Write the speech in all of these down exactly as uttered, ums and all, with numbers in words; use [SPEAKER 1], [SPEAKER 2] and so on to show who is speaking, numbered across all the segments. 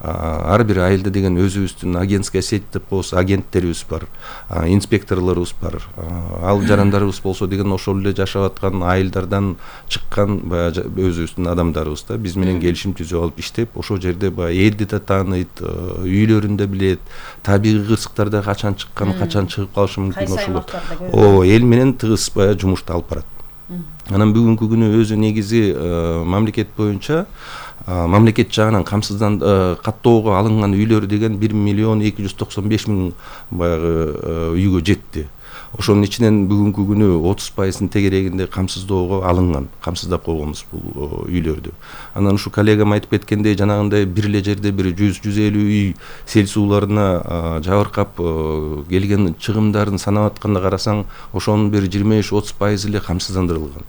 [SPEAKER 1] ар бир айылда деген өзүбүздүн агентская сеть деп коебуз, агенттерибиз бар, инспекторлорубуз бар. Ал жарандарыбыз болсо деген ошол эле жашап аткан айылдардан чыккан баягы өзүбүздүн адамдарыбыз да, биз менен келишим түзүп алып иштеп, ошол жерде баягы элди да тааныйт, үйлөрүндө билет, табигый кырсыктарда качан чыккан, качан чыгып калышы мүмкүн, ошол о эл менен тыгыз баягы жумушту алып барат. Анан бүгүнкү күнү өзү негизи мамлекет боюнча мамлекет жагынан камсыздан каттоого алынган үйлөр деген бир миллион эки жүз токсон беш миң баягы үйгө жетти. Ошонун ичинен бүгүнкү күнү отуз пайызын тегерегинде камсыздоого алынган, камсыздап койгонбуз бул үйлөрдү. Анан ушу коллегам айтып кеткендей, жанагындай бир эле жерде бир жүз жүз элүү үй сел сууларына жабыркап келген чыгымдарын санап атканда карасаң, ошонун бир жыйырма беш отуз пайызы эле камсыздандырылган.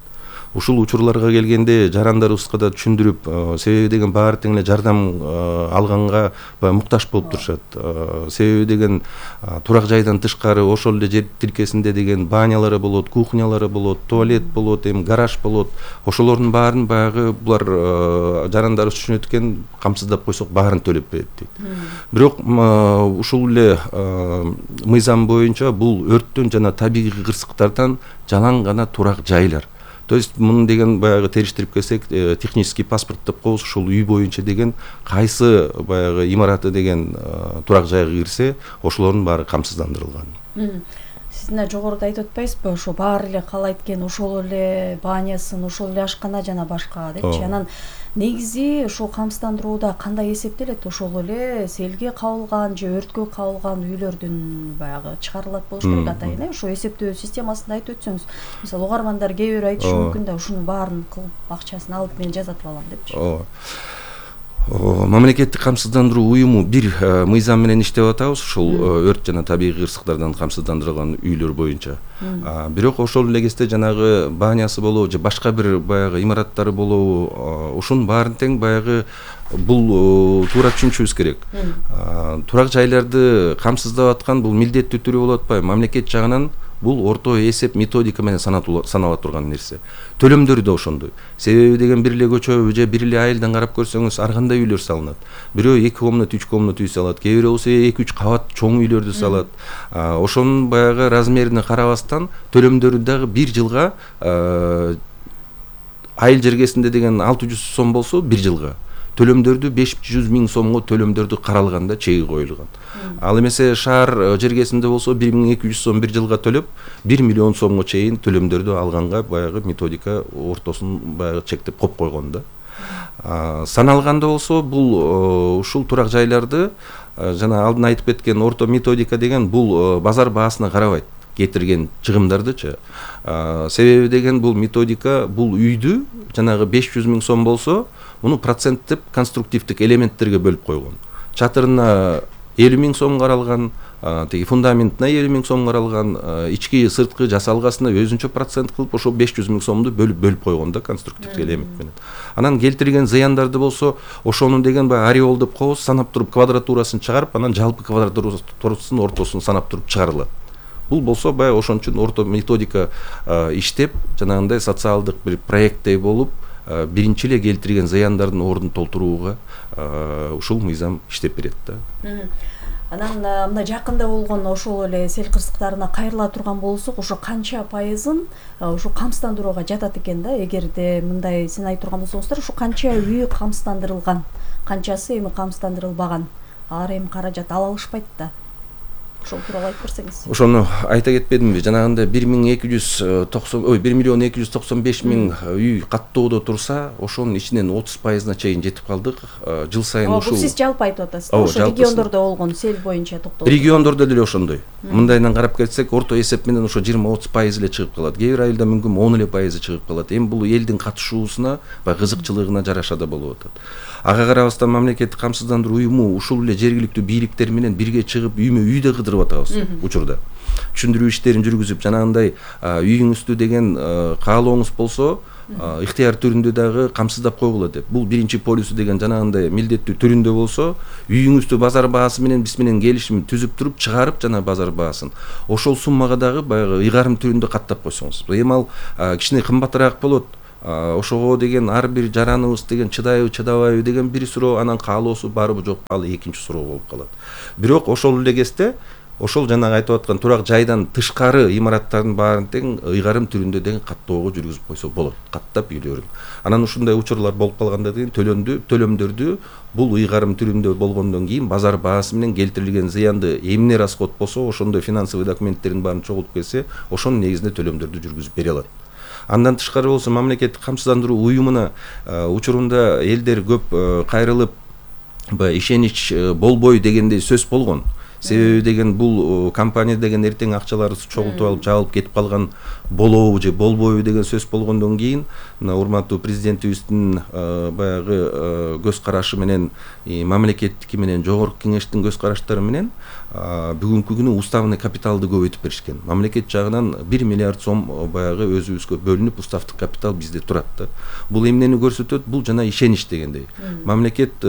[SPEAKER 1] Ушул учурларга келгенде жарандарыбызга да түшүндүрүп, себеби деген баары тең эле жардам алганга муктаж болуп турушат. Себеби деген турак жайдан тышкары ошол эле жер тилкесинде деген банялары болот, кухнялары болот, туалет болот, эми гараж болот. Ошолордун баарын баягы булар жарандарыбыз түшүнөт экен, камсыздап койсок баарын төлөп берет дейт. Бирок ушул эле мыйзам боюнча бул өрттөн жана табигый кырсыктардан жалаң гана турак жайлар. То есть муну деген баягы териштирип келсек, технический паспорт деп коебуз, ушул үй боюнча деген кайсы баягы имараты деген турак жайга кирсе, ошолордун баары камсыздандырылган.
[SPEAKER 2] Сиз мына жогоруда айтып атпайсызбы, ошо баары эле каалайт экен, ошол эле банясын, ошол эле ашкана жана башка депчи. Анан негизи ушул камсыздандырууда кандай эсептелет? Ошол эле селге кабылган же өрткө кабылган үйлөрдүн баягы чыгарылат болуш керек атайын, э? Ошо эсептөө системасын айтып өтсөңүз. Мисалы угармандар кээ бирөө айтышы мүмкүн да, ушунун баарын кылып акчасын алып мен жазатып алам депчи.
[SPEAKER 1] Мамлекеттик камсыздандыруу уюму бир мыйзам менен иштеп атабыз, ушул өрт жана табигый кырсыктардан камсыздандырылган үйлөр боюнча. Бирок ошол эле кезде жанагы банясы болобу же башка бир баягы имараттары болобу, ушунун баарын тең баягы бул туура түшүнүшүбүз керек. Турак жайларды камсыздап аткан бул милдеттүү түрү болуп атпайбы? Мамлекет жагынан бул орто эсеп методика менен санала турган нерсе. Төлөмдөр да ошондой. Себеби деген бир эле көчө же бир эле айылдан карап көрсөңүз, ар кандай үйлөр салынат. Бирөө эки комнат, үч комнат үй салат, кээ бирөө болсо эки үч кабат чоң үйлөрдү салат. Ошонун баягы размерине карабастан төлөмдөрү дагы бир жылга айыл жергесинде деген алты жүз сом болсо бир жылга, төлөмдөрдү беш жүз миң сомго төлөмдөрдү каралганда чеги коюлган. Ал эмесе шаар жергесинде болсо бир миң эки жүз сом бир жылга төлөп, бир миллион сомго чейин төлөмдөрдү алганга баягы методика ортосун баягы чектеп коюп койгон да. Саналганда болсо бул ушул турак жайларды жана алдын айтып кеткен орто методика деген бул базар баасына карабайт кетирген чыгымдардычы. Себеби деген бул методика бул үйдү жанагы беш жүз миң сом болсо, муну проценттеп конструктивдик элементтерге бөлүп койгон. Чатырына элүү миң сом каралган, теги фундаментине элүү миң сом каралган, ички сырткы жасалгасына өзүнчө процент кылып ошо беш жүз миң сомду бөлүп бөлүп койгон да конструктивдик элемент менен. Анан келтирген зыяндарды болсо, ошонун деген баягы ореол деп коебуз, санап туруп квадратурасын чыгарып, анан жалпы квадратурасын ортосун санап туруп чыгарылат. Бул болсо баягы ошон үчүн орто методика иштеп, жанагындай социалдык бир проекттей болуп, биринчи эле келтирген зыяндардын ордун толтурууга ушул мыйзам иштеп берет да.
[SPEAKER 2] Анан мына жакында болгон ошол эле сел кырсыктарына кайрыла турган болсок, ошо канча пайызын ошо камсыздандырууга жатат экен да? Эгерде мындай сен айтып турган болсоңуздар, ошо канча үй камсыздандырылган, канчасы эми камсыздандырылбаган? Алар эми каражат ала алышпайт да. Ошол тууралуу айтып берсеңиз.
[SPEAKER 1] Ошону айта кетпедимби? Жанагындай бир миң эки жүз токсон, ой, бир миллион эки жүз токсон беш миң үй каттоодо турса, ошонун ичинен отуз пайызына чейин жетип калдык. Жыл сайын ушул.
[SPEAKER 2] Бул сиз жалпы айтып атасыз. Ошо региондордо болгон сел боюнча токтолуп.
[SPEAKER 1] Региондордо деле ошондой. Мындайдан карап кетсек, орто эсеп менен ошо жыйырма отуз пайыз эле чыгып калат. Кээ бир айылда мүмкүн он эле пайызы чыгып калат. Эми бул элдин катышуусуна, баягы кызыкчылыгына жараша да болуп атат. Ага карабастан мамлекеттик камсыздандыруу уюму ушул эле жергиликтүү бийликтер менен бирге чыгып үймө үйдө кыдырып атабыз учурда. Түшүндүрүү иштерин жүргүзүп, жанагындай үйүңүздү деген каалооңуз болсо, ыктыяр түрүндө дагы камсыздап койгула деп. Бул биринчи полюсу деген жанагындай милдеттүү түрүндө болсо, үйүңүздү базар баасы менен биз менен келишим түзүп туруп чыгарып жана базар баасын ошол суммага дагы баягы ыйгарым түрүндө каттап койсоңуз. Эми ал кичине кымбатыраак болот. ошого деген ар бир жараныбыз деген чыдайбы чыдабайбы деген бир суроо, анан каалоосу барбы жокпу ал экинчи суроо болуп калат. Бирок ошол эле кезде ошол жанагы айтып аткан турак жайдан тышкары имараттардын баарын тең ыйгарым түрүндө деген каттоого жүргүзүп койсо болот, каттап үйлөрүн. Анан ушундай учурлар болуп калганда деген төлөмдү төлөмдөрдү бул ыйгарым түрүндө болгондон кийин базар баасы менен келтирилген зыянды эмне расход болсо, ошондой финансовый документтерин баарын чогултуп келсе, ошонун негизинде төлөмдөрдү жүргүзүп бере алат. Андан тышкары болсо мамлекеттик камсыздандыруу уюмуна учурунда элдер көп кайрылып баягы ишенич болбой дегендей сөз болгон. Себеби деген бул компания деген эртең акчаларды чогултуп алып жабылып кетип калган болобу же болбойбу деген сөз болгондон кийин мына урматтуу президентибиздин баягы көз карашы менен мамлекеттики менен жогорку кеңештин көз караштары менен бүгүнкү күнү уставный капиталды көбөйтүп беришкен. Мамлекет жагынан бир миллиард сом баягы өзүбүзгө бөлүнүп уставдык капитал бизде турат да. Бул эмнени көрсөтөт? Бул жана ишенич дегендей. Мамлекет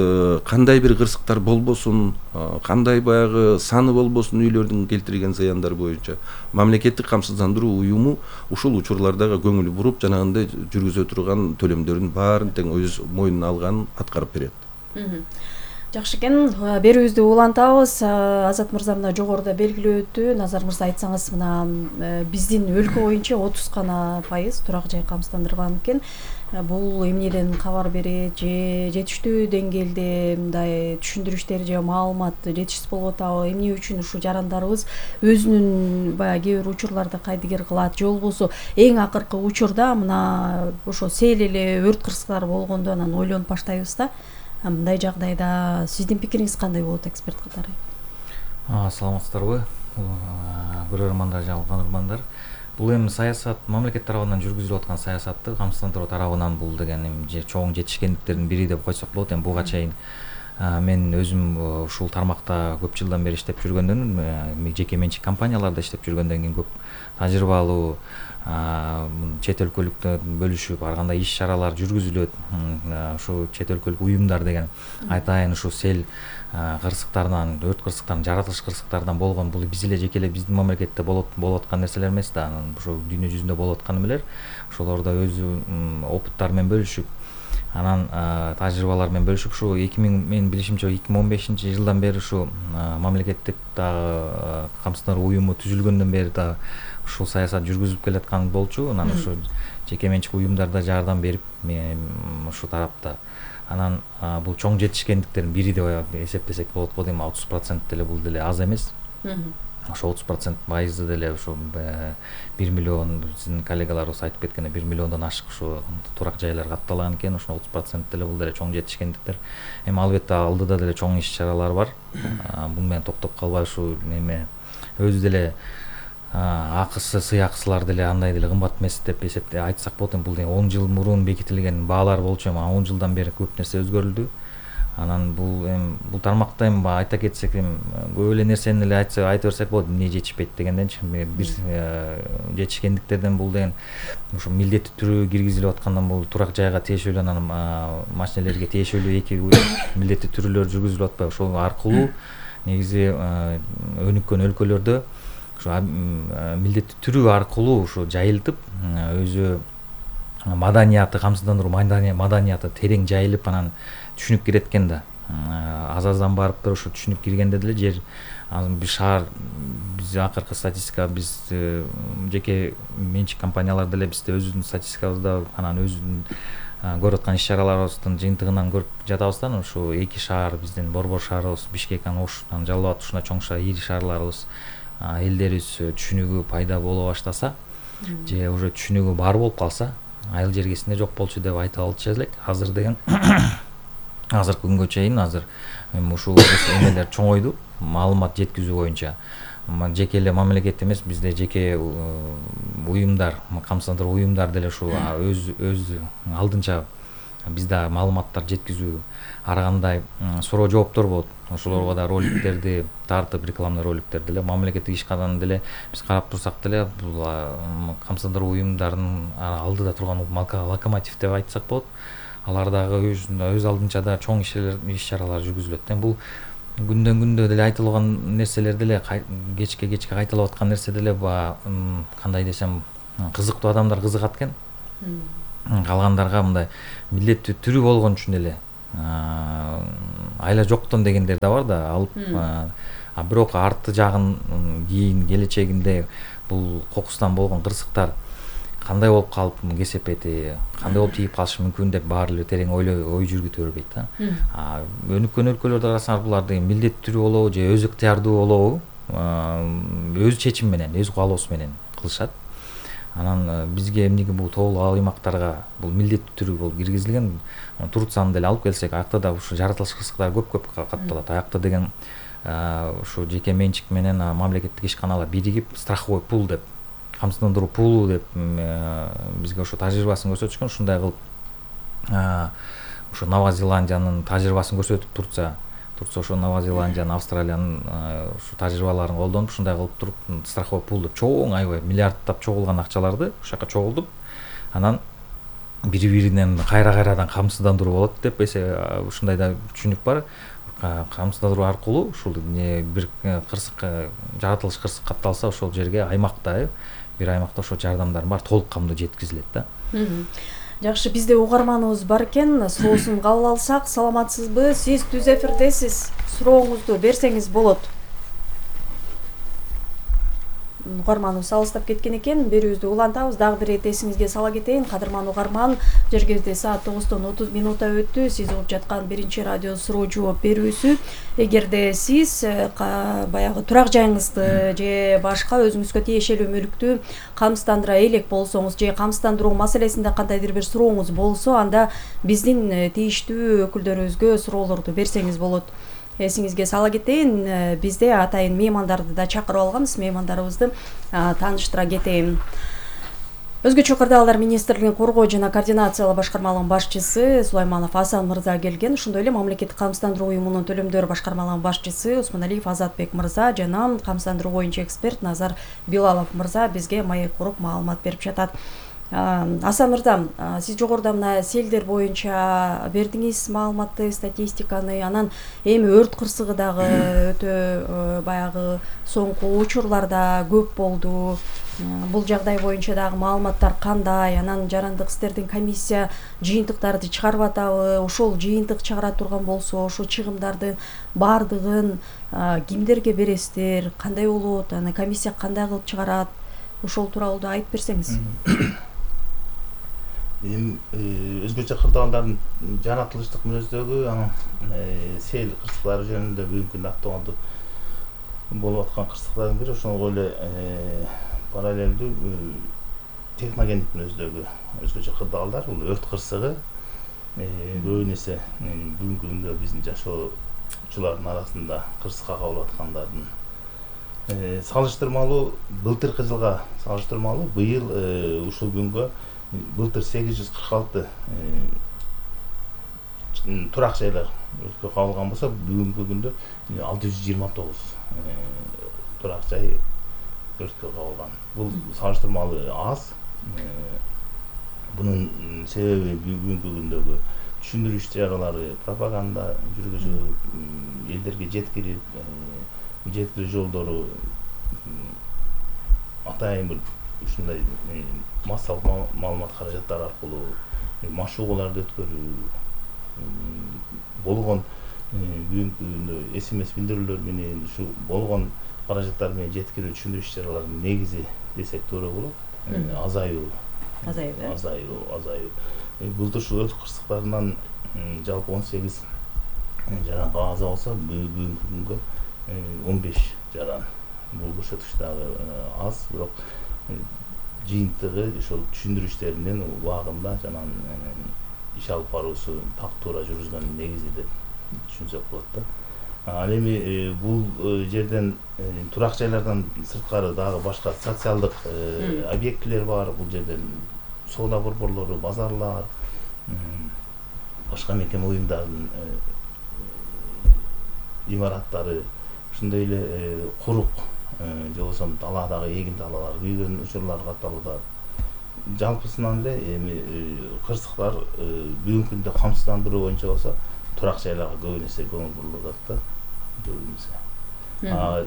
[SPEAKER 1] кандай бир кырсыктар болбосун, кандай баягы саны болбосун үйлөрдүн келтирген зыяндары боюнча мамлекеттик камсыздандыруу уюму ушул учурлардагы көңүл буруп жанагындай жүргүзө турган төлөмдөрдүн баарын тең өз мойнуна алганын аткарып берет.
[SPEAKER 2] Жакшы экен, берүүбүздү улантабыз. Азат мырза мына жогоруда белгилеп өттү. Назар мырза айтсаңыз, мына биздин өлкө боюнча отуз гана пайыз турак жай камсыздандырылган экен. Бул эмнеден кабар берет, же жетиштүү деңгээлде мындай түшүндүрүштөр же маалымат жетишсиз болуп атабы, эмне үчүн ушу жарандарыбыз өзүнүн баягы кээ бир учурларда кайдыгер кылат, же болбосо эң акыркы учурда мына ошо сел эле өрт кырсыктары болгондо анан ойлонуп баштайбыз да. Мындай жагдайда сиздин пикириңиз кандай болот эксперт катары?
[SPEAKER 3] Саламатсыздарбы, көрөрмандар жана угармандар. Бул эми саясат мамлекет тарабынан жүргүзүлүп аткан саясатты камсыздандыруу тарабынан бул деген эми чоң жетишкендиктердин бири деп койсок болот. Эми буга чейин мен өзүм ушул тармакта көп жылдан бери иштеп жүргөндөн, жеке менчик компанияларда иштеп жүргөндөн кийин көп тажрыйбалуу чет өлкөлүктө бөлүшүп ар кандай иш чаралар жүргүзүлөт. Ушу чет өлкөлүк уюмдар деген айтайын ушу сел кырсыктарынан, өрт кырсыктарынан, жаратылыш кырсыктарынан болгон, бул биз эле жеке эле биздин мамлекетте болот болуп аткан нерселер эмес да, анан ушу дүйнө жүзүндө болуп аткан эмелер. Ошолордо өз опыттары менен бөлүшүп, анан тажрыйбалар менен бөлүшүп, ушу эки миң менин билишимче эки миң он бешинчи жылдан бери ушу мамлекеттик дагы камсыздандыруу уюму түзүлгөндөн бери да ушул саясат жүргүзүлүп келаткан болчу. Анан ушу жеке менчик уюмдарда жардам берип ушу тарапта. Анан бул чоң жетишкендиктердин бири деп эсептесек болот го дейм. отуз процент деле бул деле аз эмес. Ошо отуз процент пайызы деле ушу бир миллион, биздин коллегаларыбыз айтып кеткендей бир миллиондон ашык ушу турак жайлар катталган экен. Ошо отуз процент деле бул деле чоң жетишкендиктер. Эми албетте алдыда деле чоң иш чаралар бар. Бул менен токтоп калбай ушу неме өзү деле акысы, сый акысылар деле андай деле кымбат эмес деп эсептей айтсак болот. Бул он жыл мурун бекитилген баалар болчу, эми он жылдан бери көп нерсе өзгөрүлдү. Анан бул эми бул тармакта эми айта кетсек, эми көп эле нерсени эле айтса айта берсек болот, эмне жетишпейт дегенденчи. Бир жетишкендиктерден бул деген ушу милдеттүү түрү киргизилип аткандан бул турак жайга тиешелүү, анан машинелерге тиешелүү эки милдеттүү түрүлөр жүргүзүлүп атпайбы. Ошол аркылуу негизи өнүккөн өлкөлөрдө ушу милдеттүү түрү аркылуу ушу жайылтып, өзү маданияты, камсыздандыруу маданияты терең жайылып, анан түшүнүк кирет экен да. Аз-аздан барып туруп ушу түшүнүк киргенде деле жер бир шаар, биз акыркы статистика, биз жеке менчик компаниялар деле бизде өзүбүздүн статистикабызда, анан өзүбүздүн көрүп аткан иш чараларыбыздын жыйынтыгынан көрүп жатабыз да. Ушу эки шаар, биздин Борбор шаарыбыз, Бишкек, анан Ош, анан Жалал Абад, ушундай чоң шаар, ири шаарларыбыз элдерибиз түшүнүгү пайда боло баштаса, же уже түшүнүгү бар болуп калса, айыл жергесинде жок болчу деп айта алчу элек. Азыр деген азыркы күнгө чейин азыр эми ушул эмелер чоңойду, маалымат жеткизүү боюнча. Жеке эле мамлекет эмес, бизде жеке уюмдар, камсыздандыруу уюмдар деле ушу өз өз алдынча бизде маалыматтар жеткизүү, ар кандай суроо жооптор болот. Ошолорго да роликтерди тартып, рекламный роликтер деле мамлекеттик ишканадан деле биз карап турсак деле, бул камсыздандыруу уюмдарынын алдыда турган локомотив деп айтсак болот. Алар дагы өз алдынча да чоң иш чаралар жүргүзүлөт. Бул күндөн күндө деле айтылган нерселер деле, кечке кечке кайталап аткан нерсе деле, кандай десем, кызыктуу адамдар кызыгат экен. калгандарга мындай милдеттүү түрү болгон үчүн эле айла жоктон дегендер да бар да, алып, а бирок арты жагын кийин келечегинде бул кокустан болгон кырсыктар кандай болуп калып кесепети, кандай болуп тийип калышы мүмкүн деп баары эле терең ойлой ой жүргүтө бербейт да. А өнүккөн өлкөлөрдө карасаңар булар деген милдеттүү түрү болобу же өз ыктыярдуу болобу, өз чечим менен, өз каалоосу менен кылышат. Анан бизге эмнеге бул тоолуу аймактарга бул милдеттүү түрү болуп киргизилген? Турцияны деле алып келсек, аякта да ушу жаратылыш кырсыктары көп-көп катталат. Аякта деген ушу жеке менчик менен мамлекеттик ишканалар биригип страховой пул деп, камсыздандыруу пулу деп бизге ошо тажрыйбасын көрсөтүшкөн. Ушундай кылып ошо Нова Зеландиянын тажрыйбасын көрсөтүп Турция Турция ошо Нова Зеландиянын, Австралиянын ушу тажрыйбаларын колдонуп, ушундай кылып туруп страховой пул деп чоң аябай миллиарддап чогулган акчаларды ошол жака чогултуп, анан бири-биринен кайра-кайрадан камсыздандыруу болот деп ушундай да түшүнүк бар. Камсыздандыруу аркылуу ушул бир кырсык, жаратылыш кырсык катталса, ошол жерге аймакта, бир аймакта ошо жардамдар бар толук камдуу жеткизилет да.
[SPEAKER 2] Жакшы, бизде угарманыбыз бар экен, суроосун кабыл алсак. Саламатсызбы? Сиз түз эфирдесиз. Сурооңузду берсеңиз болот. Угарманыбыз алыстап кеткен экен, берүүбүздү улантабыз. Дагы бир эт эсиңизге сала кетейин, кадырман угарман, жергибизде саат тогуздон отуз минутта өттү. Сиз угуп жаткан биринчи радио суроо жооп берүүсү. Эгерде сиз баягы турак жайыңызды же башка өзүңүзгө тиешелүү мүлктү камсыздандыра элек болсоңуз, же камсыздандыруу маселесинде кандайдыр бир сурооңуз болсо, анда биздин тийиштүү өкүлдөрүбүзгө суроолорду берсеңиз болот. Эсиңизге сала кетейин, бизде атайын меймандарды да чакырып алганбыз. Меймандарыбызды тааныштыра кетейин. Өзгөчө кырдаалдар министрлигинин коргоо жана координациялоо башкармалыгынын башчысы Сулайманов Асан мырза келген. Ошондой эле мамлекеттик камсыздандыруу уюмунун төлөмдөр башкармалыгынын башчысы Усманалиев Азатбек мырза жана камсыздандыруу боюнча эксперт Назар Билалов мырза бизге маек куруп маалымат берип жатат. Асан мырза, сиз жогоруда мына селдер боюнча бердиңиз маалыматты, статистиканы, анан эми өрт кырсыгы дагы өтө баягы соңку учурларда көп болду. Бул жагдай боюнча дагы маалыматтар кандай? Анан жарандык истердин комиссия жыйынтыктарды чыгарып атабы? Ошол жыйынтык чыгара турган болсо, ошол чыгымдардын баардыгын кимдерге бересиздер? Кандай болот? Анан комиссия кандай кылып чыгарат? Ошол тууралуу да айтып берсеңиз.
[SPEAKER 4] Эми өзгөчө кырдаалдардын жаратылыштык мүнөздөгү, анан сел кырсыктары жөнүндө бүгүнкү күндө актуалдуу болуп аткан кырсыктардын бири ошого эле параллелдүү техногендик мүнөздөгү өзгөчө кырдаалдар, бул өрт кырсыгы көбүн эсе бүгүнкү күндө биздин жашоочулардын арасында кырсыкка кабылып аткандардын салыштырмалуу былтыркы жылга салыштырмалуу быйыл ушул күнгө былтыр сегиз жүз кырк алты турак жайлар өрткө кабылган болсо, бүгүнкү күндө алты жүз жыйырма тогуз турак жай өрткө кабылган. Бул салыштырмалуу аз. Бунун себеби бүгүнкү күндөгү түшүндүрүү иш-чаралары, пропаганда жүргүзүп, элдерге жеткирип, жеткирүү жолдору атайын бир ушундай массалык маалымат каражаттары аркылуу машыгууларды өткөрүү болгон бүгүнкү күндө эс эм эс билдирүүлөр менен ушу болгон каражаттар менен жеткирүү түшүндүрүү иш-чараларынын негизи десек туура болот. Азаюу азаюу азаюу азаюу былтыр ушул өрт кырсыктарынан жалпы он сегиз жаран каза болсо, бүгүнкү күнгө он беш жаран. Бул көрсөткүч дагы аз, бирок жыйынтыгы ошол түшүндүрүү иштеринин убагында жана иш алып баруусу так туура жүргүзгөн негизи деп түшүнсөк болот да. Ал эми бул жерден турак жайлардан сырткары дагы башка социалдык объектилер бар. Бул жерден соода борборлору, базарлар, башка мекеме уюмдардын имараттары, ошондой эле курук же болбосо талаадагы эгин талаалар күйгөн учурлар катталууда. Жалпысынан эле эми кырсыктар бүгүнкү күндө камсыздандыруу боюнча болсо турак жайларга көбүн эсе көңүл бурулуп атат да. Көбүнесе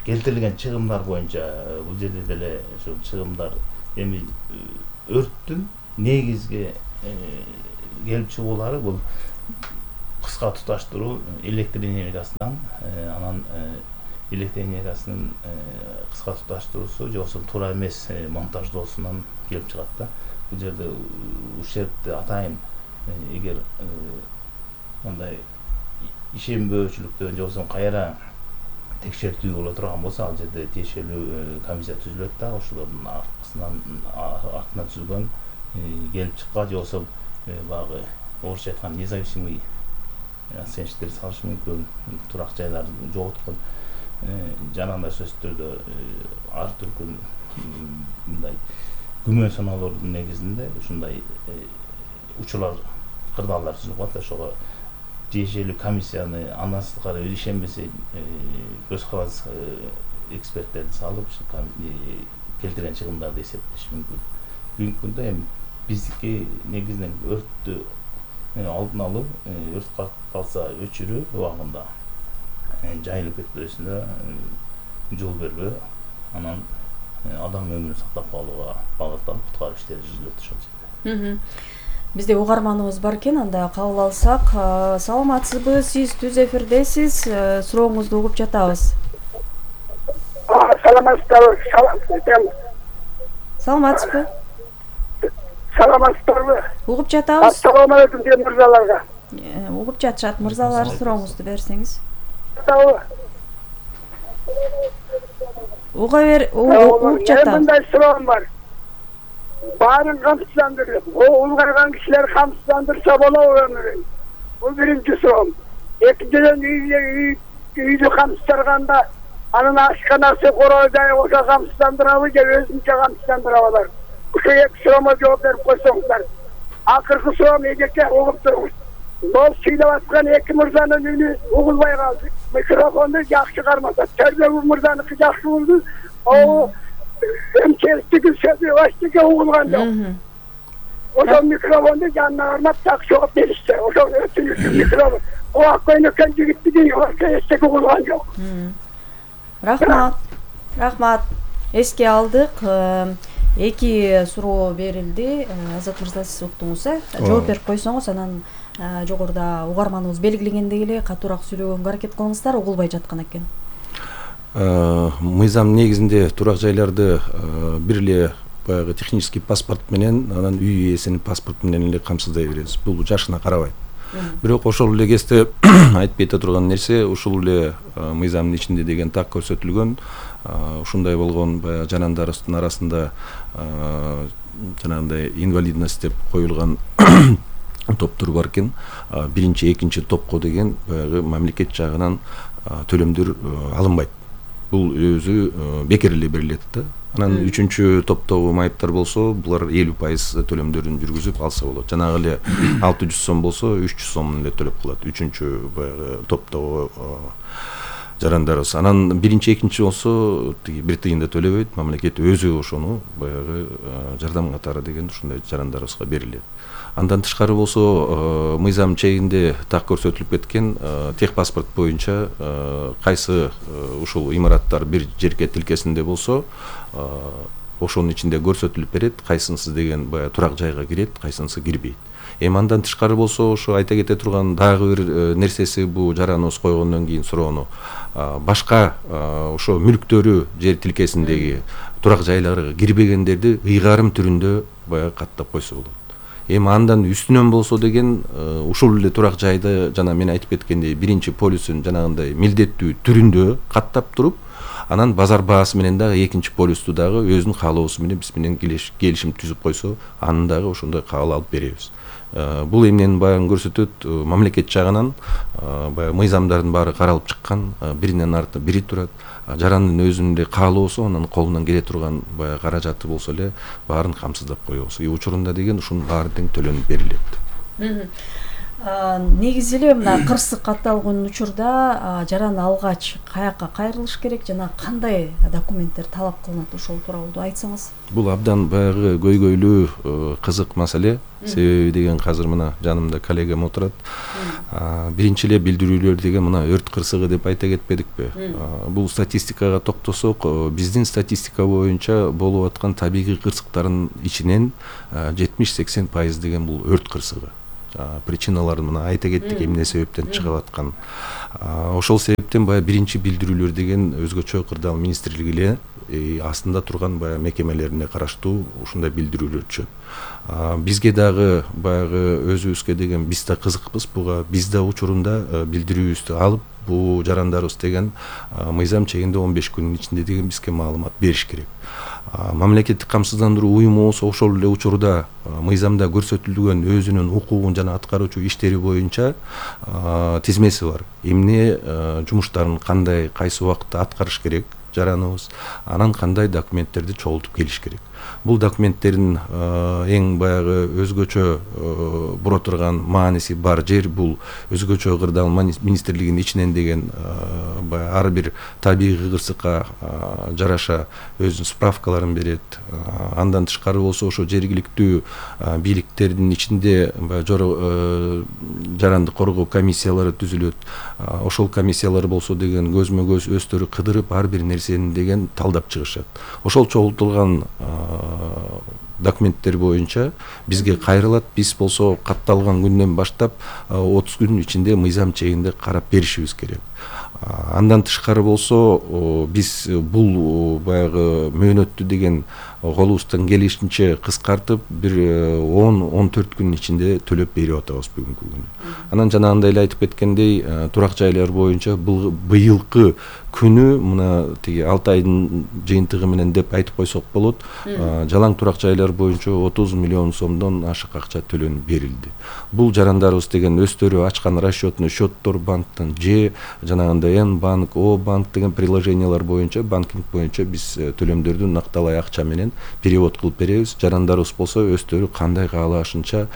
[SPEAKER 4] келтирилген чыгымдар боюнча бул жерде деле ошол чыгымдар эми өрттүн негизги келип чыгуулары бул кыска туташтыруу электр энергиясынан, анан электр энергиясынын кыска туташтыруусу же болбосо туура эмес монтаждоосунан келип чыгат да. Бул жерде ушертти атайын эгер мындай ишенбөөчүлүктөн же болбосо кайра текшертүү боло турган болсо, ал жерде тиешелүү комиссия түзүлөт да, ошолордун аркасынан артынан түзүлгөн келип чыкка же болбосо баягы орусча айткан независимый оценщиктер салышы мүмкүн, турак жайларды жоготкон жанагындай сөздөр ар түркүн мындай күмөн санаалоордун негизинде ушундай учурлар, кырдаалдар түзүлүп калат. Ошого тиешелүү комиссияны андан сырткары ишенбесе көз каранды эксперттерди салып келтирген чыгымдарды эсептеш мүмкүн. Бүгүнкү күндө эми биздики негизинен өрттү алдын алуу, өрт калса өчүрүү убагында, жайылып кетпесине жол бербөө, анан адам өмүрүн сактап калууга багытталып куткаруу иштери жүрүлөт ошол жерде.
[SPEAKER 2] Бизде угарманыбыз бар экен, анда кабыл алсак. Саламатсызбы, сиз түз эфирдесиз, сурооңузду угуп жатабыз.
[SPEAKER 5] Саламатсызбы?
[SPEAKER 2] Саламатсызбы?
[SPEAKER 5] Саламатсызбы?
[SPEAKER 2] Угуп жатабыз.
[SPEAKER 5] Ассаламу алейкум дей мырзаларга.
[SPEAKER 2] Угуп жатышат мырзалар, сурооңузду берсеңиз. Уга бер, угуп жатабыз.
[SPEAKER 5] Мындай суроом бар. Баарын камсыздандырып, улгарган кишилер камсыздандырса болобу өмүрүн? Бул биринчи суроом. Экинчиден үйдү камсыздырганда анын ашканасы коройдай ошо камсыздандырабы же өзүнчө камсыздандырабы? Ушул эки суроомо жооп берип койсоңуздар. Акыркы суроом эжеке угуп туруңуз. Бол сүйлөп аткан эки мырзанын үнү угулбай калды. Микрофонду жакшы кармаса, Төрбөбү мырзаныкы жакшы угулду. О, эмчеликтеги сөзү баштыга угулган жок. Ошол микрофонду жанына кармап жакшы жооп беришти. Ошол өтүнүш микрофон. Кулак көйнөккөн жигиттиги эстеги угулган жок.
[SPEAKER 2] Рахмат. Рахмат. Эске алдык. Эки суроо берилди. Азат мырза, сиз уктуңуз, э? Жооп берип койсоңуз, анан жогоруда угарманыбыз белгилегендей эле катуураак сүйлөгөнгө аракет кылыңыздар, угулбай жаткан экен.
[SPEAKER 1] Мыйзам негизинде турак жайларды бир эле баягы технический паспорт менен, анан үй ээсинин паспорту менен эле камсыздай беребиз. Бул жашына карабайт. Бирок ошол эле кезде айтып кете турган нерсе, ушул эле мыйзамдын ичинде деген так көрсөтүлгөн, ушундай болгон баягы жарандарыбыздын арасында жанагындай инвалидность деп коюлган топтор бар экен. Биринчи, экинчи топко деген баягы мамлекет жагынан төлөмдөр алынбайт. Бул өзү бекер эле берилет да. Анан үчүнчү топтогу майыптар болсо, булар элүү пайыз төлөмдөрүн жүргүзүп алса болот. Жанагы эле алты жүз сом болсо, үч жүз сом эле төлөп калат. Үчүнчү баягы топтогу жарандарыбыз. Анан биринчи, экинчи болсо, тиги бир тыйын да төлөбөйт. Мамлекет өзү ошону баягы жардам катары деген ушундай жарандарыбызга берилет. Андан тышкары болсо, мыйзам чегинде так көрсөтүлүп кеткен техпаспорт боюнча кайсы ушул имараттар бир жерге тилкесинде болсо, ошонун ичинде көрсөтүлүп берет, кайсынысы деген баягы турак жайга кирет, кайсынысы кирбейт. Эми андан тышкары болсо, ошо айта кете турган дагы бир нерсеси, бул жараныбыз койгондон кийин суроону, башка ошо мүлктөрү жер тилкесиндеги турак жайларга кирбегендерди ыйгарым түрүндө баягы каттап койсо болот. Эми андан үстүнөн болсо деген ушул эле турак жайды жана мен айтып кеткендей биринчи полюсун жанагындай милдеттүү түрүндө каттап туруп, анан базар баасы менен дагы экинчи полюсту дагы өзүнүн каалоосу менен биз менен келишим түзүп койсо, аны дагы ошондой кабыл алып беребиз. Бул эмнени баягы көрсөтөт, мамлекет жагынан баягы мыйзамдардын баары каралып чыккан, биринен артынан бири турат. Жарандын өзүнүн эле каалоосу, анан колунан келе турган баягы каражаты болсо эле баарын камсыздап коебуз. И учурунда деген ушунун баары тең төлөнүп берилет.
[SPEAKER 2] Негизи эле мына кырсык катталган учурда жаран алгач каякка кайрылыш керек жана кандай документтер талап кылынат, ошол тууралуу айтсаңыз.
[SPEAKER 1] Бул абдан баягы көйгөйлүү кызык маселе. Себеби деген азыр мына жанымда коллегам отурат. Биринчи эле билдирүүлөр деген мына өрт кырсыгы деп айта кетпедикпи? Бул статистикага токтосок, биздин статистика боюнча болуп аткан табигый кырсыктардын ичинен жетимиш сексен пайыз деген бул өрт кырсыгы. Причиналарын мына айта кеттик, эмне себептен чыгып аткан. Ошол себептен баягы биринчи билдирүүлөр деген өзгөчө кырдаал министрлиги эле астында турган баягы мекемелерине караштуу ушундай билдирүүлөр түшөт. Бизге дагы баягы өзүбүзгө деген биз да кызыкпыз буга, биз да учурунда билдирүүбүздү алып, бул жарандарыбыз деген мыйзам чегинде он беш күнүн ичинде деген бизге маалымат бериш керек. Мамлекеттик камсыздандыруу уюму болсо ошол эле учурда мыйзамда көрсөтүлгөн өзүнүн укугун жана аткаруучу иштери боюнча тизмеси бар. Эмне жумуштарын кандай, кайсы убакытта аткарыш керек жараныбыз, анан кандай документтерди чогултуп келиш керек. Бул документтердин эң баягы өзгөчө бура турган мааниси бар жер бул өзгөчө кырдаал министрлигинин ичинен деген баягы ар бир табигый кырсыкка жараша өзүнүн справкаларын берет. Андан тышкары болсо ошо жергиликтүү бийликтердин ичинде баягы жаранды коргоо комиссиялары түзүлөт. Ошол комиссиялар болсо деген көзмө көз өздөрү кыдырып ар бир нерсени деген талдап чыгышат. Ошол чогултулган документтер боюнча бизге кайрылат. Биз болсо катталган күндөн баштап отуз күнүн ичинде мыйзам чегинде карап беришибиз керек. Андан тышкары болсо биз бул баягы мөөнөттү деген колубуздан келишинче кыскартып бир он он төрт күнүн ичинде төлөп берип атабыз бүгүнкү күнү. Анан жанагындай эле айтып кеткендей, турак жайлар боюнча быйылкы күнү мына тиги алты айдын жыйынтыгы менен деп айтып койсок болот. Жалаң турак жайлар боюнча отуз миллион сомдон ашык акча төлөнүп берилди. Бул жарандарыбыз деген өздөрү ачкан расчетный счеттор банктан же жанагындай Н банк, О банк деген приложениялар боюнча, банкинг боюнча биз төлөмдөрдү накталай акча менен перевод кылып беребиз. Жарандарыбыз болсо өздөрү кандай каалашынча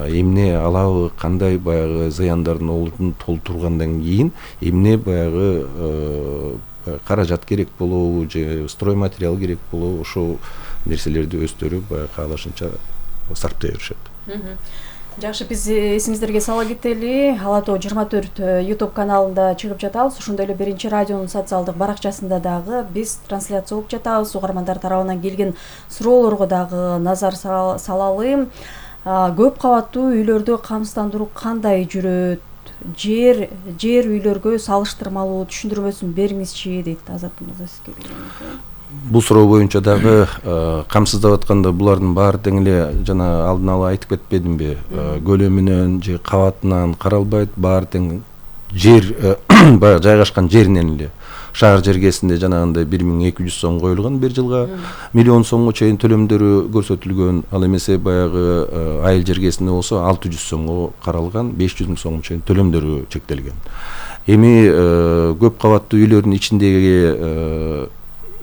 [SPEAKER 1] эмне алабы, кандай баягы зыяндардын олдун толтургандан кийин эмне баягы каражат керек болобу же стройматериал керек болобу, ошол нерселерди өздөрү баягы каалашынча сарптай беришет.
[SPEAKER 2] Жакшы, биз эсиңиздерге сала кетели. Ала тоо жыйырма төрт YouTube каналында чыгып жатабыз. Ошондой эле Биринчи радионун социалдык баракчасында дагы биз трансляция кылып жатабыз. Угармандар тарабынан келген суроолорго дагы назар салалы. Көп кабаттуу үйлөрдө камсыздандыруу кандай жүрөт? Жер жер үйлөргө салыштырмалуу түшүндүрмөсүн бериңизчи дейт Азат мырза, сизге берем.
[SPEAKER 1] Бул суроо боюнча дагы камсыздап атканда булардын баары тең эле жана алдын ала айтып кетпедимби? Көлөмүнөн же кабатынан каралбайт, баары тең жер баягы жайгашкан жеринен эле. Шаар жергесинде жанагындай бир миң эки жүз сом коюлган бир жылга, миллион сомго чейин төлөмдөрү көрсөтүлгөн. Ал эмесе баягы айыл жергесинде болсо алты жүз сомго каралган, беш жүз миң сомго чейин төлөмдөрү чектелген. Эми көп кабаттуу үйлөрдүн ичиндеги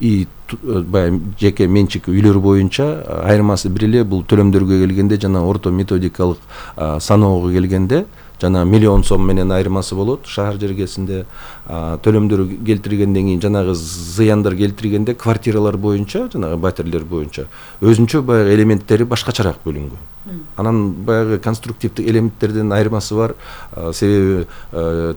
[SPEAKER 1] и баягы жеке менчик үйлөр боюнча айырмасы бир эле. Бул төлөмдөргө келгенде жана орто методикалык саноого келгенде жана миллион сом менен айырмасы болот. Шаар жергесинде төлөмдөр келтиргенден кийин жанагы зыяндар келтиргенде квартиралар боюнча, жанагы батирлер боюнча өзүнчө баягы элементтери башкачараак бөлүнгөн. Анан баягы конструктивдик элементтерден айырмасы бар. Себеби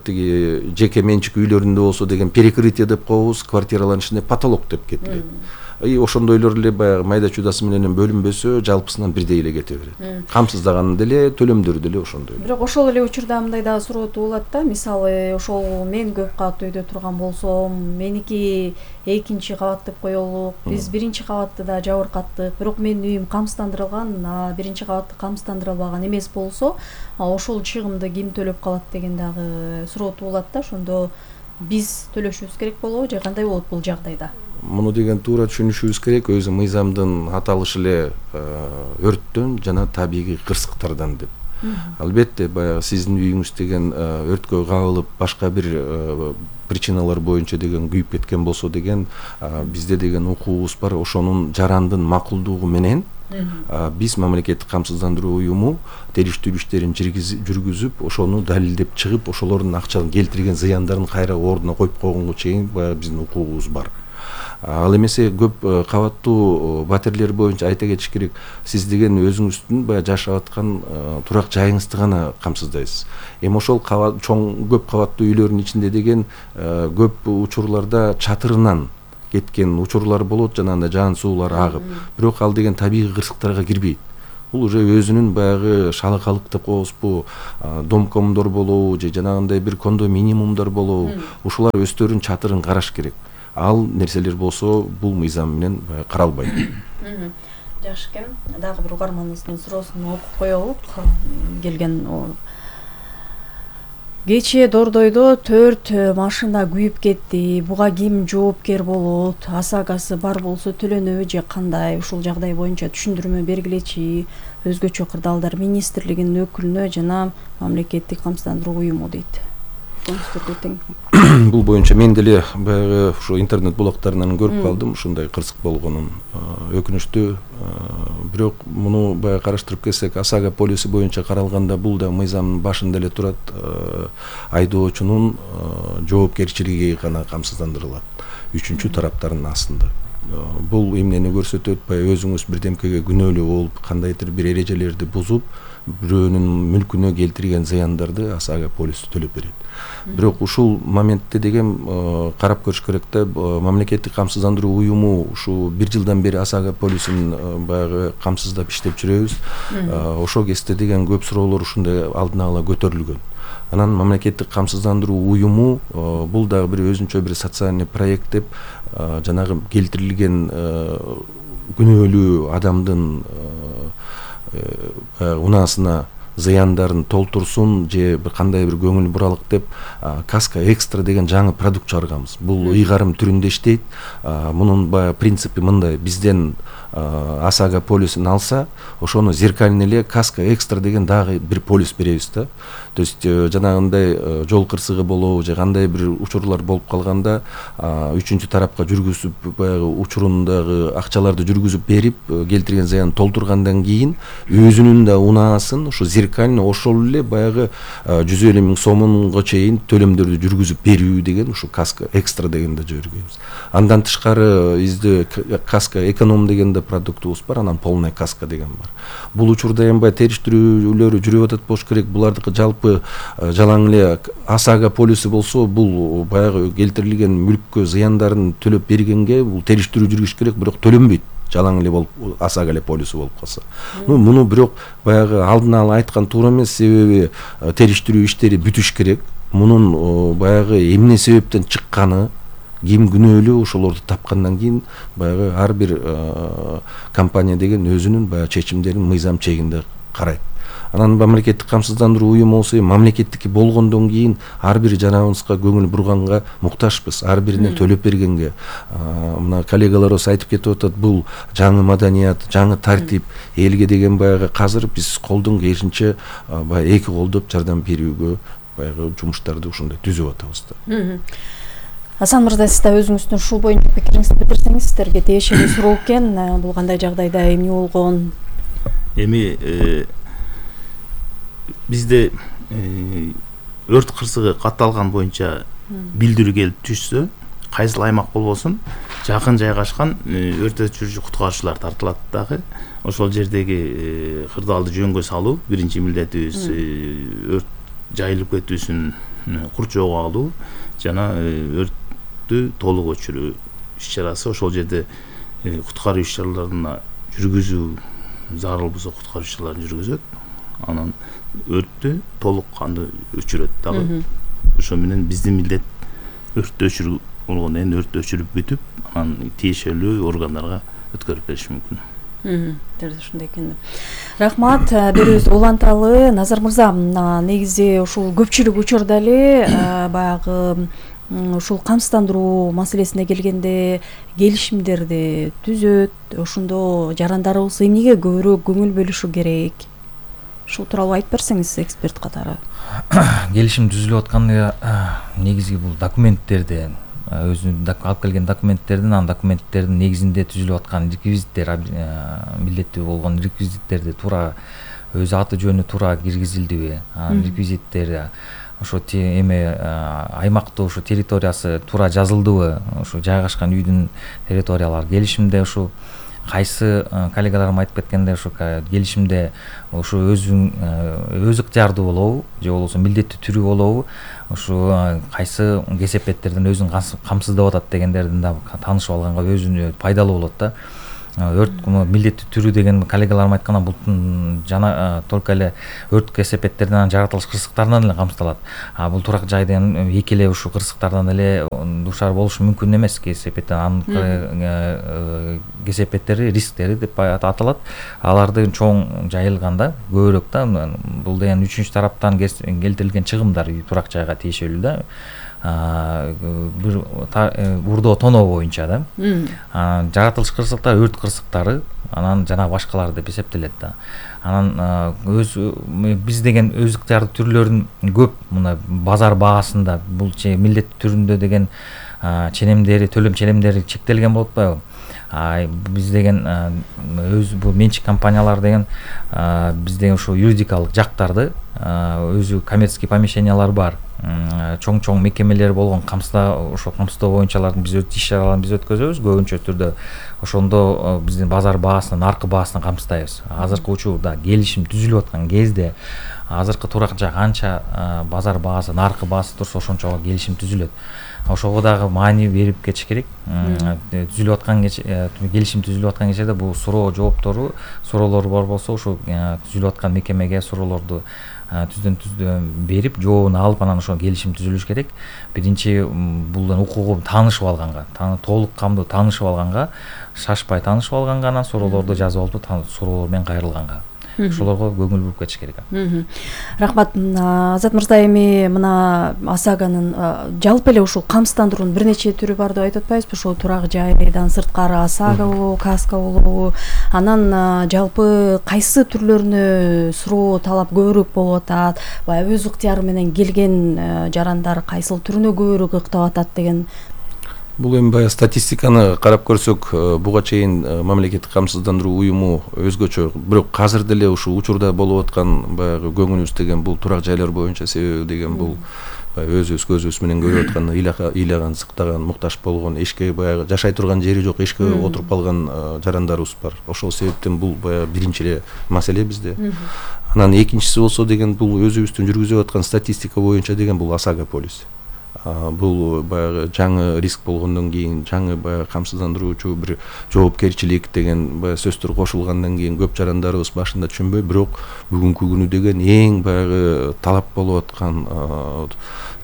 [SPEAKER 1] тиги жеке менчик үйлөрүндө болсо деген перекрытие деп коебуз, квартиралардын ичинде потолок деп кетилет. И ошондойлор эле баягы майда чудасы менен бөлүнбөсө жалпысынан бирдей эле кете берет. Камсыздаган деле, төлөмдөрү деле ошондой.
[SPEAKER 2] Бирок ошол эле учурда мындай дагы суроо туулат да. Мисалы, ошол мен көп кабаттуу үйдө турган болсом, меники экинчи кабат деп коелук. Биз биринчи кабатты да жабыркаттык. Бирок менин үйүм камсыздандырылган, биринчи кабатты камсыздандырылбаган эмес болсо, ошол чыгымды ким төлөп калат деген дагы суроо туулат да. Ошондо биз төлөшүбүз керек болобу же кандай болот бул жагдайда?
[SPEAKER 1] Муну деген туура түшүнүшүбүз керек. Өзү мыйзамдын аталышы эле өрттөн жана табигый кырсыктардан деп. Албетте баягы сиздин үйүңүз деген өрткө кабылып башка бир причиналар боюнча деген күйүп кеткен болсо деген бизде деген укугубуз бар. Ошонун жарандын макулдугу менен Биз мамлекеттик камсыздандыруу уюму териштирүү иштерин жүргүзүп, ошону далилдеп чыгып, ошолордун акчаны келтирген зыяндарын кайра ордуна коюп койгонго чейин баягы биздин укугубуз бар. Ал эмесе көп кабаттуу батирлер боюнча айта кетиш керек, сиз деген өзүңүздүн баягы жашап аткан турак жайыңызды гана камсыздайсыз. Эми ошол чоң көп кабаттуу үйлөрдүн ичинде деген көп учурларда чатырынан кеткен учурлар болот, жанагындай жаан суулар агып, бирок ал деген табигый кырсыктарга кирбейт. Бул уже өзүнүн баягы шалакалык деп коебузбу, домкомдор болобу же жанагындай бир кондоминиумдар болобу, ушулар өздөрүнүн чатырын караш керек. Ал нерселер болсо бул мыйзам менен каралбайт.
[SPEAKER 2] Жакшы экен. Дагы бир угарманыбыздын суроосун окуп коелук. Келген кечээ Дордойдо төрт машина күйүп кетти. Буга ким жоопкер болот? Асагасы бар болсо төлөнөбү же кандай? Ушул жагдай боюнча түшүндүрмө бергилечи. Өзгөчө кырдаалдар министрлигинин өкүлүнө жана мамлекеттик камсыздандыруу уюму дейт.
[SPEAKER 1] Бул боюнча мен деле баягы ушу интернет булактарынан көрүп калдым ушундай кырсык болгонун. Өкүнүчтүү, бирок муну баягы караштырып келсек, Асага полиси боюнча каралганда бул да мыйзамдын башында эле турат. Айдоочунун жоопкерчилиги гана камсыздандырылат. Үчүнчү тараптардын астында. Бул эмнени көрсөтөт? Баягы өзүңүз бирдемкеге күнөөлүү болуп, кандайдыр бир эрежелерди бузуп, бирөөнүн мүлкүнө келтирген зыяндарды Асага полиси төлөп берет. Бирок ушул моментте деген карап көрүш керек да, мамлекеттик камсыздандыруу уюму ушу бир жылдан бери Асага полисин баягы камсыздап иштеп жүрөбүз. Ошол кезде деген көп суроолор ушундай алдын ала көтөрүлгөн. Анан мамлекеттик камсыздандыруу уюму бул дагы бир өзүнчө бир социальный проект деп жанагы келтирилген күнөөлүү адамдын унаасына зыяндарын толтурсун же бир кандай бир көңүл буралык деп каска экстра деген жаңы продукт чыгарганбыз. Бул ыйгарым түрүндө иштейт. Мунун баягы принципи мындай: бизден Асага полисин алса, ошону зеркальный эле каска экстра деген дагы бир полис беребиз да. То есть жанагындай жол кырсыгы болобу же кандай бир учурлар болуп калганда үчүнчү тарапка жүргүзүп, баягы учурундагы акчаларды жүргүзүп берип, келтирген зыянын толтургандан кийин өзүнүн да унаасын ушу зеркальный ошол эле баягы жүз элүү миң сомунга чейин төлөмдөрдү жүргүзүп берүү деген ушу каска экстра дегенде жибергенбиз. Андан тышкары бизде каска эконом дегенде продуктубуз бар, анан полный каска деген бар. Бул учурда эми баягы териштирүүлөрү жүрүп атат болуш керек. Булардыкы жалпы жалаң эле Асага полиси болсо, бул баягы келтирилген мүлккө зыяндарын төлөп бергенге бул териштирүү жүргүзүш керек, бирок төлөнбөйт. Жалаң эле болуп, Асага эле полиси болуп калса. Ну, муну бирок баягы алдын ала айткан туура эмес, себеби териштирүү иштери бүтүш керек. Мунун баягы эмне себептен чыкканы, ким күнөөлүү, ошолорду тапкандан кийин баягы ар бир компания деген өзүнүн баягы чечимдерин мыйзам чегинде карайт. Анан мамлекеттик камсыздандыруу уюму болсо, мамлекеттики болгондон кийин ар бир жанагыбызга көңүл бурганга муктажбыз, ар бирине төлөп бергенге. Мына коллегаларыбыз айтып кетип атат, бул жаңы маданият, жаңы тартип, элге деген баягы казыр биз колдон келишинче баягы эки колдоп жардам берүүгө баягы жумуштарды ушундай түзүп атабыз да.
[SPEAKER 2] Асан мырза, сиз да өзүңүздүн ушул боюнча пикириңизди билдирсеңиз, сиздерге тиешелүү суроо экен. Бул кандай жагдайда эмне болгон?
[SPEAKER 4] Эми бизде өрт кырсыгы катталган боюнча билдирүү келип түшсө, кайсыл аймак болбосун, жакын жайгашкан өрт өчүрүүчү куткаруучулар тартылат дагы. Ошол жердеги кырдаалды жөнгө салуу биринчи милдетибиз, өрт жайылып кетүүсүн курчоого алуу жана өрттү толук өчүрүү иш-чарасы. Ошол жерде куткаруу иш-чараларына жүргүзүү зарыл болсо куткаруу иш-чараларын жүргүзөт. Анан өрттү толук кандуу өчүрөт дагы. Ошо менен биздин милдет өрттү өчүрүү болгондон кийин өрттү өчүрүп бүтүп, анан тиешелүү органдарга өткөрүп бериш мүмкүн.
[SPEAKER 2] Ушундай экен. Рахмат, берүүбүздү уланталы. Назар мырза, негизи ушул көпчүлүк учурда эле баягы ушул камсыздандыруу маселесине келгенде келишимдерди түзөт. Ошондо жарандарыбыз эмнеге көбүрөөк көңүл бөлүшү керек? Ушул тууралуу айтып берсеңиз, эксперт катары.
[SPEAKER 3] Келишим түзүлүп атканда негизги бул документтерди өзүнүн алып келген документтердин анан документтердин негизинде түзүлүп аткан реквизиттер, милдеттүү болгон реквизиттерди туура өз аты жөнү туура киргизилдиби, анан реквизиттери ошо эме аймактуу ошо территориясы туура жазылдыбы, ошо жайгашкан үйдүн территориялары келишимде ушу кайсы коллегаларым айтып кеткендей ошо келишимде ошо өзүң өз ыктыярдуу болобу же болбосо милдеттүү түрү болобу, ошо кайсы кесепеттерден өзүн камсыздап атат дегендердин да таанышып алганга өзүнө пайдалуу болот да. Өрт милдеттүү түрү деген коллегаларым айтканда бул жана только эле өрт кесепеттеринен жаратылыш кырсыктарынан эле камсыздалат. А бул турак жайдын эки эле ушул кырсыктардан эле душар болушу мүмкүн эмес. Кесепеттен анын кесепеттери, рисктери деп аталат. Алардын чоң жайылганда көбүрөөк да бул деген үчүнчү тараптан келтирилген чыгымдар турак жайга тиешелүү да. Бир урдоо тоноо боюнча да. Жаратылыш кырсыктар, өрт кырсыктары, анан жана башкалар деп эсептелет да. Анан өз биз деген өз ыктыярдуу түрлөрүн көп мына базар баасында бул милдеттүү түрүндө деген ченемдери, төлөм ченемдери чектелген болуп атпайбы? Биз деген өз бул менчик компаниялар деген биз деген ушул юридикалык жактарды өзү коммерческий помещениялар бар. Чоң-чоң мекемелер болгон камсыздоо ошо камсыздоо боюнчалардын биз иш чараларын биз өткөзөбүз көбүнчө түрдө. Ошондо биздин базар баасынан, наркы баасынан камсыздайбыз. Азыркы учурда келишим түзүлүп аткан кезде азыркы турак жай канча базар баасы, наркы баасы турса ошончо келишим түзүлөт. Ошого дагы маани берип кетиш керек. Түзүлүп аткан келишим түзүлүп аткан кезде бул суроо жооптору, суроолор бар болсо ошо түзүлүп аткан мекемеге суроолорду түздөн түздөн берип, жообун алып анан ошо келишим түзүлүш керек. Биринчи булдун укугу таанышып алганга, толук камдуу таанышып алганга, шашпай таанышып алганга, анан суроолорду жазып алып, суроолор менен кайрылганга. Ошолорго көңүл буруп кетиш керек.
[SPEAKER 2] Рахмат. Азат мырза, эми мына ОСАГОнун жалпы эле ушул камсыздандыруунун бир нече түрү бар деп айтып атпайбызбы? Ошол турак жайдан сырткары ОСАГО болобу, КАСКО болобу? Анан жалпы кайсы түрлөрүнө суроо талап көбүрөөк болуп атат? Баягы өз ыктыяры менен келген жарандар кайсыл түрүнө көбүрөөк ыктап атат деген?
[SPEAKER 1] Бул эми баягы статистиканы карап көрсөк, буга чейин мамлекеттик камсыздандыруу уюму өзгөчө, бирок азыр деле ушул учурда болуп аткан баягы көңүлүбүз деген бул турак жайлар боюнча, себеби деген бул өзүбүз көзүбүз менен көрүп аткан ыйлаган, сыктаган, муктаж болгон, эшикке баягы жашай турган жери жок, эшикке отуруп калган жарандарыбыз бар. Ошол себептен бул баягы биринчи эле маселе бизде. Анан экинчиси болсо деген бул өзүбүздүн жүргүзүп аткан статистика боюнча деген бул ОСАГО полис. Бул баягы жаңы риск болгондон кийин, жаңы баягы камсыздандыруучу бир жоопкерчилик деген баягы сөздөр кошулгандан кийин көп жарандарыбыз башында түшүнбөй, бирок бүгүнкү күнү деген эң баягы талап болуп аткан,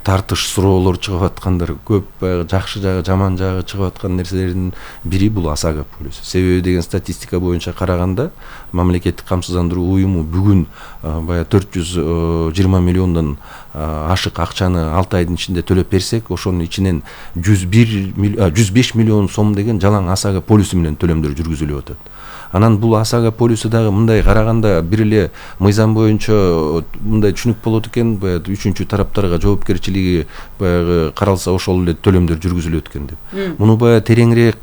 [SPEAKER 1] тартыш суроолор чыгып аткандар, көп баягы жакшы жагы, жаман жагы чыгып аткан нерселердин бири бул ОСАГО полис. Себеби деген статистика боюнча караганда, мамлекеттик камсыздандыруу уюму бүгүн баягы төрт жүз жыйырма миллиондон ашык акчаны алты айдын ичинде төлөп берсек, ошонун ичинен жүз беш миллион сом деген жалаң ОСАГО полису менен төлөмдөр жүргүзүлүп атат. Анан бул ОСАГО полису дагы мындай караганда бир эле мыйзам боюнча мындай түшүнүк болот экен, баягы үчүнчү тараптарга жоопкерчилиги баягы каралса ошол эле төлөмдөр жүргүзүлөт экен деп. Муну баягы тереңирээк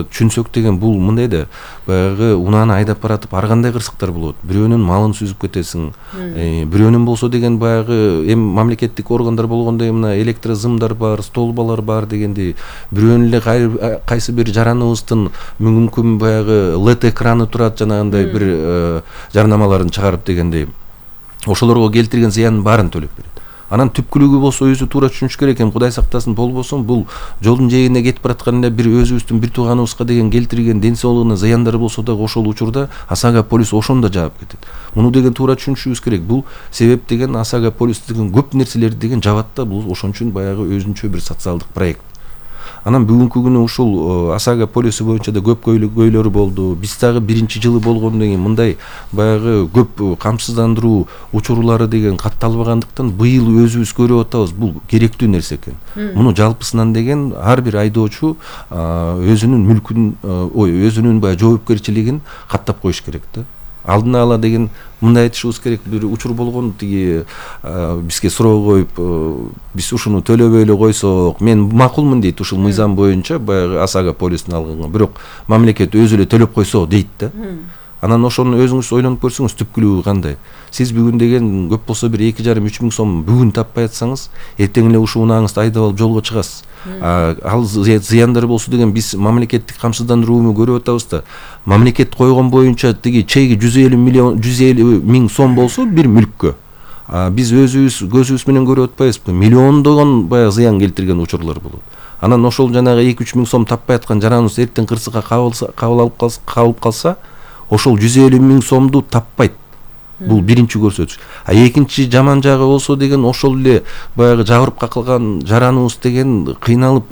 [SPEAKER 1] түшүнсөк деген бул мындай да, баягы унааны айдап баратып ар кандай кырсыктар болот. Бирөөнүн малын сүзүп кетесиң, бирөөнүн болсо деген баягы эми мамлекеттик органдар болгондой мына электрозымдар бар, столбалар бар дегенди, бирөөнүн эле кайсы бир жараныбыздын мүмкүн баягы лед экраны турат, жанагындай бир жарнамаларын чыгарып дегендей, ошолорго келтирген зыянын баарын төлөп берет. Анан түпкүлүгү болсо өзү туура түшүнүш керек экен, Кудай сактасын, болбосо бул жолдун жээгине кетип бараткан эле бир өзүбүздүн бир тууганыбызга деген келтирген ден соолугуна зыяндары болсо дагы ошол учурда ОСАГО полис ошондо жаап кетет. Муну деген туура түшүнүшүбүз керек. Бул себеп деген ОСАГО полис деген көп нерселерди деген жабат да, бул ошон үчүн баягы өзүнчө бир социалдык проект. Анан бүгүнкү күнү ушул ОСАГО полису боюнча да көп көйлөрү болду. Биз дагы биринчи жылы болгондон кийин мындай баягы көп камсыздандыруу учурлары деген катталбагандыктан быйыл өзүбүз көрүп атабыз, бул керектүү нерсе экен. Муну жалпысынан деген ар бир айдоочу өзүнүн мүлкүн, ой, өзүнүн баягы жоопкерчилигин каттап коюш керек да. алдын ала деген мындай айтышыбыз керек, бир учур болгон, тиги бизге суроо коюп, биз ушуну төлөбөй эле койсок, мен макулмун дейт ушул мыйзам боюнча, баягы ОСАГО полисин алганга, бирок мамлекет өзү эле төлөп койсо дейт да. Анан ошону өзүңүз ойлонуп көрсөңүз, түпкүлүгү кандай? Сиз бүгүн деген көп болсо бир эки жарым үч миң сом бүгүн таппай атсаңыз, эртең эле ушул унааңызды айдап алып жолго чыгасыз. Ал зыяндар болсо деген биз мамлекеттик камсыздандырууну көрүп атабыз да. Мамлекет койгон боюнча тиги чеги жүз элүү миллион жүз элүү миң сом болсо бир мүлккө, биз өзүбүз көзүбүз менен көрүп атпайбызбы? Миллиондогон баягы зыян келтирген учурлар болот. Анан ошол жанагы эки үч миң сом таппай аткан жараныбыз эртең кырсыкка кабыл алып калса, ошол жүз элүү миң сомду таппайт. Бул биринчи көрсөтүш. А экинчи жаман жагы болсо деген, ошол эле баягы жабырып какылган жараныбыз деген кыйналып